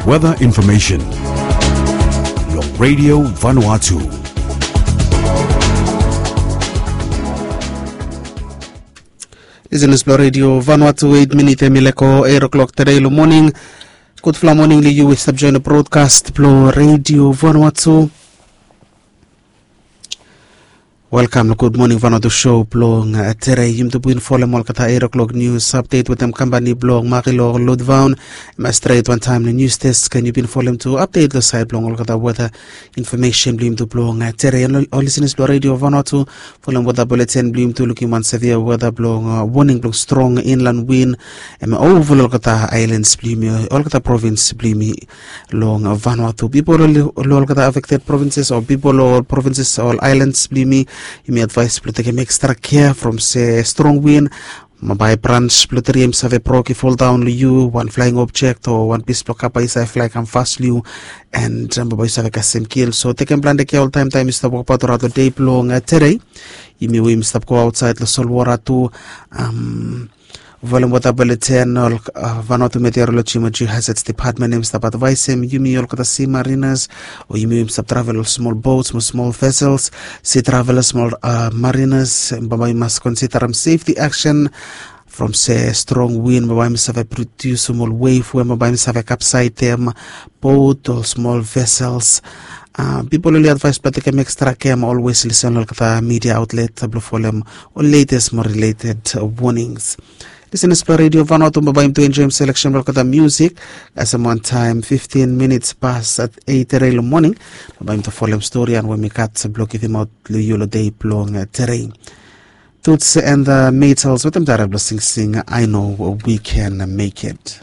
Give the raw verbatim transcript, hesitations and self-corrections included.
Weather information long Radio Vanuatu. Listeners blong Radio Vanuatu, eight minit em i leko eight o'clock today long morning. Gudfala morning long yu we stap join the broadcast blong Radio Vanuatu. Welkam long Gud Moning Vanuatu show blong uh, tere. Yumi tu bin folem olgeta eight o'clock news update wetem kampani blong Makilo Lodvaun. Em stret wantaim long news desk, and yu bin folem tu update long sait blong olgeta weather information blong yumi tu blong uh, tere. And ol listeners blong Radio Vanuatu, folem weather bulletin blong yumi tu, lukim wan severe weather blong uh, warning blong strong inland wind. Em over olgeta islands blong yumi, olgeta province blong yumi long Vanuatu. Pipol long olgeta affected provinces o pipol long ol provinces o ol islands blong yumi, yumi advais blong tekem extra care from se strong wind. Mabai branch blong tiri em save brok i foldaon long yu, wan flying object o wan pis blong kapa i save fly kam fas long yu, and mabai yu save kasem kil. So tekem plante kea oltaim taim yu stap wokbaot raot long dei blong tere. Yumi we yumi stap go aotsaid long solwara tu. Volem wota bele ten ol Vanuatu Meteorology mo Geohazards Department em stap advaisem yumi olgeta sea mariners o yumi we yumi stap travel ol smol boats mo smol vessels, sea travelers mo mariners, bambae yumi mas konsidarim safety action from se strong wind bambae yumi save produsim ol wave we bambae yumi save kapsaidem boat o smol vessels. Pipol oli advais blong tekem extra care mo always listen olgeta media outlet blong folem ol latest mo related warnings. Listeners blong Radio Vanuatu, bambae yumi tu enjoim selection blong olgeta music. Kasem wantaim fifteen minutes pas at eight tere long morning, bambae yumi tu folem stori and we mi gat blong givimaot long yu long dei blong tere. Toots and the Maytals wetem dara blong singsing I Know We Can Make It.